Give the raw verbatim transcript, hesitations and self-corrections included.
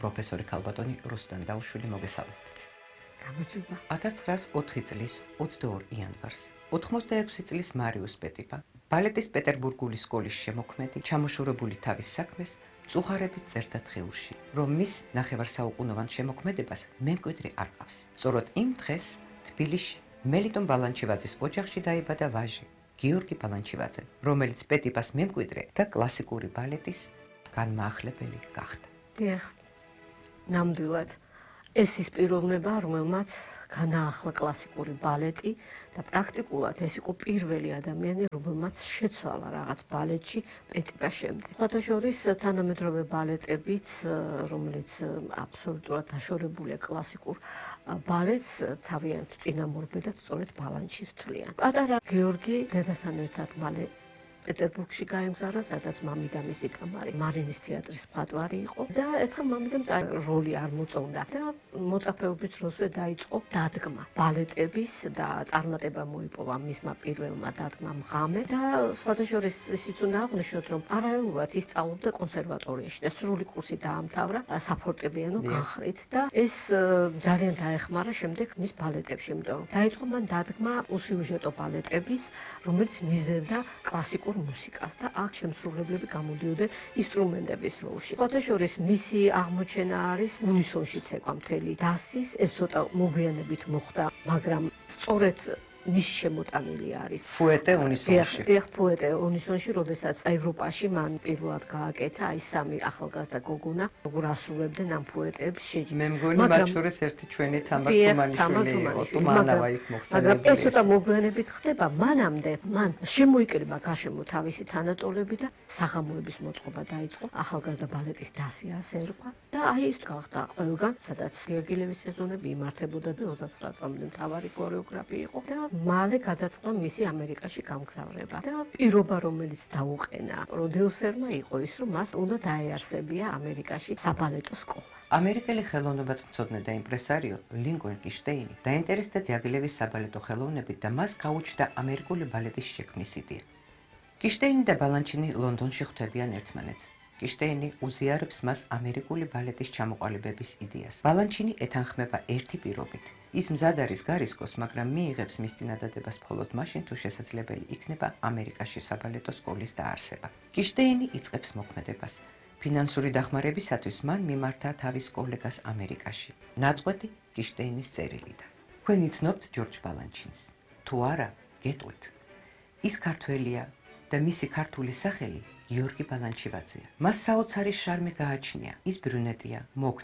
პროფესორი ქალბატონი რუსტემ დაუშვილი მოგესალმებით. გამარჯობა. ათას ცხრაას ოთხი წლის ოცდაორი იანვარს ოთხმოცდაექვსი წლის მარიუს პეტიპა, ბალეტის პეტერბურგული სკოლის შემოქმედი, ჩამოშორებული თავის საქმეს მწუხარებით წერდა დღეურში, რომ მის ნახევარსაუკუნოვან შემოქმედებას მემკვიდრე არ ყავს. სწორედ იმ დღეს თბილისში მელიტონ ბალანჩივაძის ოჯახში დაიბადა ვაჟი გიორგი ბალანჩივაძე, რომელიც პეტიპას მემკვიდრე და კლასიკური ბალეტის განმაახლებელი გახდა. დიახ, ნამდვილად ეს ის პიროვნება, რომელმაც განაახლა კლასიკური ბალეტი და პრაქტიკულად ეს იყო პირველი ადამიანი, რომელმაც შეცვალა რაღაც ბალეტში პეტიპას შემდეგ. სხვათა შორის თანამედროვე ბალეტებიც, რომელიც აბსოლუტურად დაშორებულია კლასიკურ ბალეტს, თავიანთ წინამორბედად სწორედ ბალანჩის თვლიან. პატარა გიორგი დედასთან ერთად მალე პეტერბურგში გაემგზავრა, სადაც მამიდა მისი კამარი მარინის თეატრის მხატვარი იყო და ერთხელ მამიდამ როლი არ მოწონდა და მოწაფეობის დროზე დაიწყო დადგმა ბალეტების და წარმატება მოიპოვა მისმა პირველმა დადგმამ ღამე და სხვათა შორის ისიც უნდა აღვნიშნოთ, რომ პარალელურად ის სწავლობდა კონსერვატორიაში და სრული კურსი დაამთავრა საფორტეპიანო განხრით და ეს ძალიან დაეხმარა შემდეგ მის ბალეტებში, იმიტომ რომ დაიწყო მან დადგმა უსიუჟეტო ბალეტების, რომელიც მისდევდა კლასიკურ მუსიკას და აქ შემსრულებლები გამოდიოდნენ ინსტრუმენტების როლში. სხვათა შორის მისი აღმოჩენა არის უნისონში ცეკვა მთელი დასის, ეს ცოტა მოგვიანებით მოხდა, მაგრამ სწორედ მისი შემოტანილი არის ფუეტე უნისონში. დიახ, ფუეტე უნისონში, როდესაც ევროპაში მან პირველად გააკეთა აი სამი ახალგაზრდა გოგონა, როგორ ასრულებდნენ ამ ფუეტებს შეჯიბს. მე მგონი მათ შორის ერთი ჩვენი თამარ თუმანიშვილი იყო, თუმანავა იქ მოხსენებული. მაგრამ ეს ცოტა მოგვიანებით ხდება, მანამდე მან შემოიკრიბა გარშემო თავისი თანატოლები და საღამოების მოწყობა დაიწყო, ახალგაზრდა ბალეტის დასი ასე ერქვა და აი ის გახდა ყველგან, სადაც სიაგილევის სეზონები იმართებოდა და ოცდაცხრა წლამდე მთავარი ქორეოგრაფი იყო და მალე გადაწყდა მისი ამერიკაში გამგზავრება და პირობა, რომელიც დაუყენა პროდიუსერმა იყო ის, რომ მას უნდა დაეარსებია ამერიკაში საბალეტო სკოლა. ამერიკელი ხელოვნებათმცოდნე და იმპრესარიო ლინკოლნ კიშტეინი დაინტერესდა ძიაგილევის საბალეტო ხელოვნებით და მას გაუჩნდა ამერიკული ბალეტის შექმნის იდეა. კიშტეინი და ბალანჩინი ლონდონში ხვდებიან ერთმანეთს. კიშტეინი უზიარებს მას ამერიკული ბალეტის ჩამოყალიბების იდეას. ბალანჩინი ეთანხმება ერთი პირობით. ის მზად არის გარისკოს, მაგრამ მიიღებს მის წინადადებას მხოლოდ მაშინ, თუ შესაძლებელი იქნება ამერიკაში საბალეტო სკოლის დაარსება. კიშტეინი იწყებს მოქმედებას. ფინანსური დახმარებისათვის მან მიმართა თავის კოლეგას ამერიკაში. ნაწყვეტი კიშტეინის წერილიდან. თქვენ იცნობთ ჯორჯ ბალანჩინს? თუ არა, გეტყვით. ის ქართველია და მისი ქართული სახელი გიორგი ბალანჩივაძეა. მას საოცარი შარმი გააჩნია. ის ბრუნეტია, მოგ